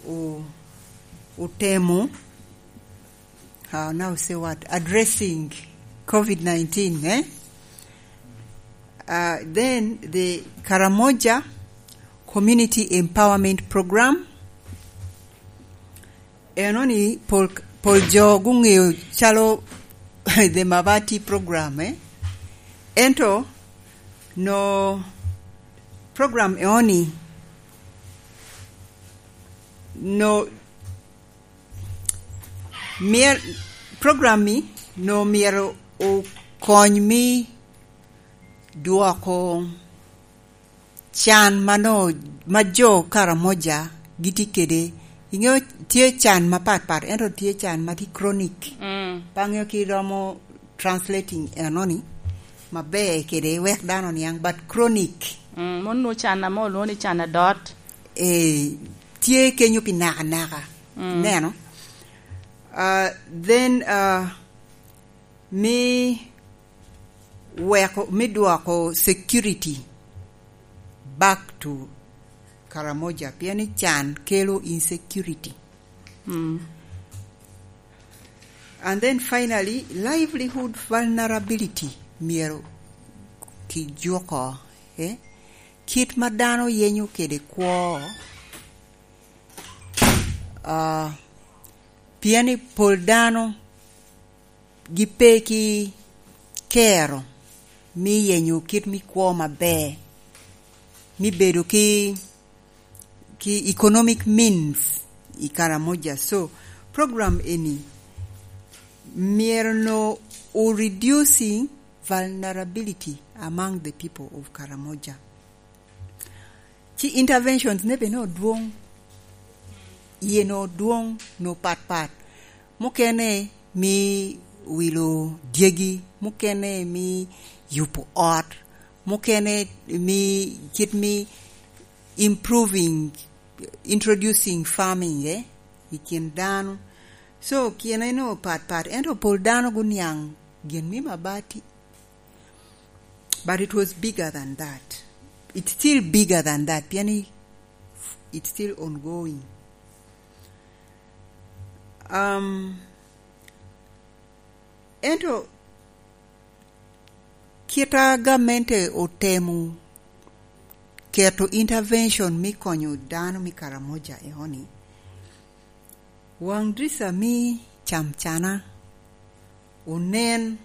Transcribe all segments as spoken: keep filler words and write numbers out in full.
o-, otemo, uh, now say what, addressing covid nineteen, eh? Uh, then the Karamoja Community Empowerment Program, eno ni pol, pol jo guŋeo calo the Mabati program, eh? Ento no program eno ni no myero, program ni no myero okony me dwoko can ma no, ma jo Karamoja gitye kede. Iŋeo tye can mapat pat, ento tye can ma tye chronic. Mm. Pe aŋeo ki romo translating enoni maber kede wek dano niaŋ, but chronic. Mm, mon nwo can ame olwongo ni can adot. Eh, tye kenyo pi naka naka. Mm. Neno? Uh, then, uh, me weko, me dwoko security back to Karamoja, pien ni can kelo insecurity. Mm. And then finally, livelihood vulnerability myero kijuko, eh? Kit ma dano yenyo kede kwo, ah, pien ni pol dano gipe ki kero me yenyo kit me kwo maber, me bedo ki, ki economic means i Karamoja. So, program eni myero no o reducing vulnerability among the people of Karamoja. Ci interventions ne bene odwoŋ, iye no odwoŋ, no pat pat. Mukene mi wilo dyegi, mukene mi yubo ot, mukene mi kit mi improving, introducing farming, eh, i kin dano. So, kine no pat pat, ento pol dano guniaŋ gin me mabati. But it was bigger than that. It's still bigger than that, pien i-, it's still ongoing. Um, ento kit a gamente otemo keto intervention me konyo dano me Karamoja eoni, waŋ drica me camcana onen,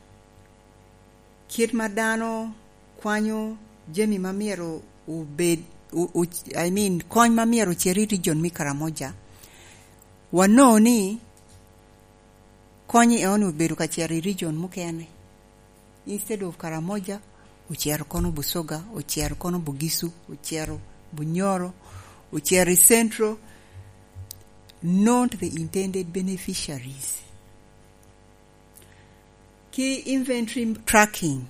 kit ma dano kwanyo jami ma myero obed, o-, o-, I mean, kony ma myero ocer i region me Karamoja, wanongo ni kony eoni obedo ka cero i region mukene. Instead of Karamoja, ocero kono Busoga, ocero kono Bugisu, ocero Bunyoro, ocero i Central, not the intended beneficiaries. Ki inventory tracking,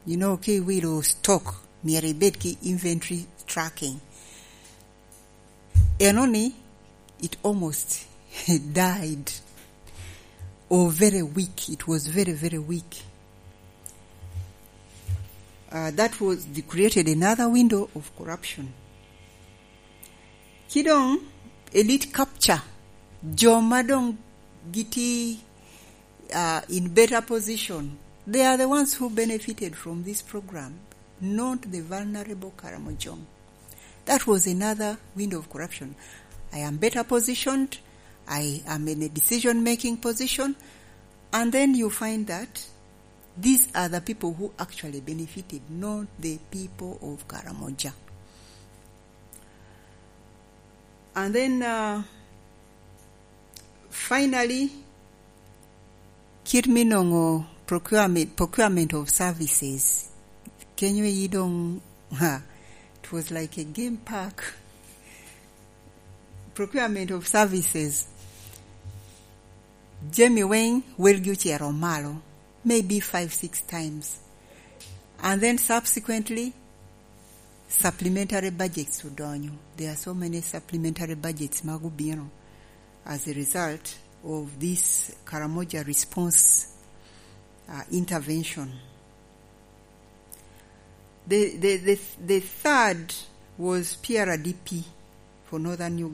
you know, ki wilo stock, myero ibed ki inventory tracking. Enoni, it almost died. Or very weak. It was very, very weak. Uh, that was the created another window of corruption. Ki doŋ elite capture, jo ma doŋ giti, uh, in better position, they are the ones who benefited from this program, not the vulnerable Karamojong. That was another window of corruption. I am better positioned, I am in a decision-making position, and then you find that these are the people who actually benefited, not the people of Karamoja. And then, uh, finally, kit me nongo procurement, procurement of services. Kenyo yi doŋ, ha, it was like a game park. Procurement of services. Jami weŋ welgi ocero malo, maybe five, six times. And then subsequently, supplementary budgets odonyo. There are so many supplementary budgets ma gubino as a result of this Karamoja response, uh, intervention. The, the, the, the third was P R D P for Northern Uganda.